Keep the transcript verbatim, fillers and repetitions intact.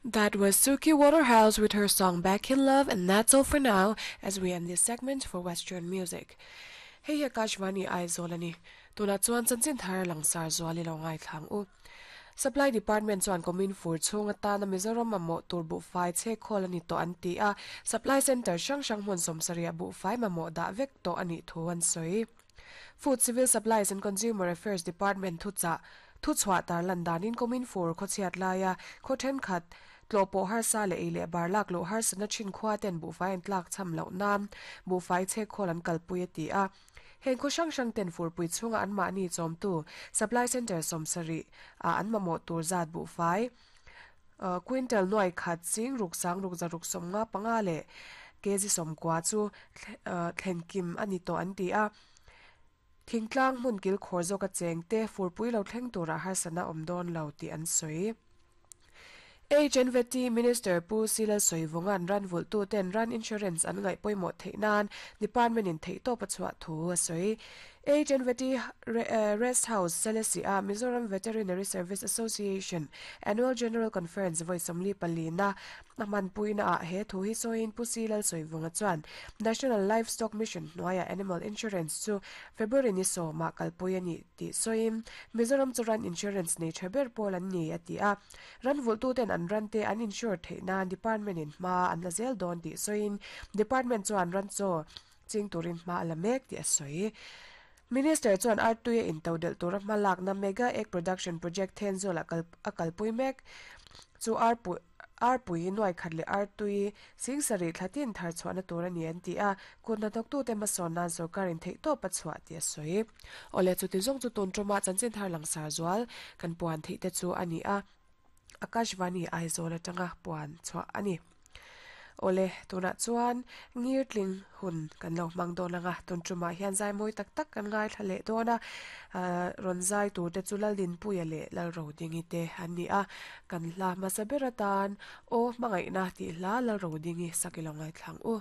That was Suki Waterhouse with her song Back in Love, and that's all for now as we end this segment for Western music. Hei hi Akashvani Aizawl ani. Tunah chuan chanchin thar langsar zual i lo ngaithla ang u. Supply Department chuan kumin fur chhung atana Mizoram mamawh tur buhfai chhe khawl a ni tawh an ti a, Supply Centre hrang hrang hmun sawmsarih buhfai mamawh dah vek tawh a nih thu an sawi. Food Civil Supplies and Consumer Affairs Department thuchah thuchhuah tarlan danin kumin fur khawchhiat laia khaw thenkhat tlawhpawh harsa leh ei leh bar lak loh harsatna thin khua ten buhfai an tlak cham loh nan buhfai chhe khawl an kalpui a ti a. Heng khaw hrang hrang ten furpui chhunga an mahni chawmtu Supply Centre sawmsarih ah an mamawh tur zat buhfai quintal nuai khat ching ruk sang ruk zaruk sawmnga panga leh kg sawmkua chu thlenkim a ni tawh an ti a. Thingtlang hmun kil khawr zawk a cheng te furpui lo thleng turah harsatna awm dawn lo tih an sawi. H N V T Minister Pu Sila Soivungan ran vultu ten ran insurance an ngaih pawimawh theih nan department in theih tawp a chhuah thu a sawi. H N V T Rest House Selesih a Mizoram Veterinary Service Association Annual General Conference vawi sawmli pali na a hmanpuina ah he thu hi sawiin Pu Sila Soivunga chuan National Livestock Mission hnuaia Animal Insurance chu February ni sawma kalpui ani tih sawiin Mizoram chu ran insurance nei tha ber pawl an ni a ti a. Ran vultu ten an ran te an insure theih nan department in hma an la zel dawn tih sawiin department chuan ran chaw ching turin hma a la mek tih a sawi. Minister chuan artui a intodel tura hma lakna Mega Egg Production Project Thenzawl a kal a kalpui mek chu arpui arpui nuai khat leh artui singsarih thlatin thar chhuahna tur ani an ti a kut hnathawktu te hmasawn nan sorkar in theih tawp a chhuah tih a sawi. Awle chuti zawng chu tun tuma chanchin thar langsar zual kan puan theih te chu ani a. Akashvani Aizawl atanga puan chhuah ani. Awle tunah chuan ngirtling hun kan lo hmang dawn anga tun tumah hian zai mawi tak tak kan ngaithla leh dawn a rawn zai tur te chu Laldinpuia leh Lalrodingi te an ni a kan hla hmasa ber atan aw hmangaihna tih hla Lalrodingi sak i lo ngaithla ang u.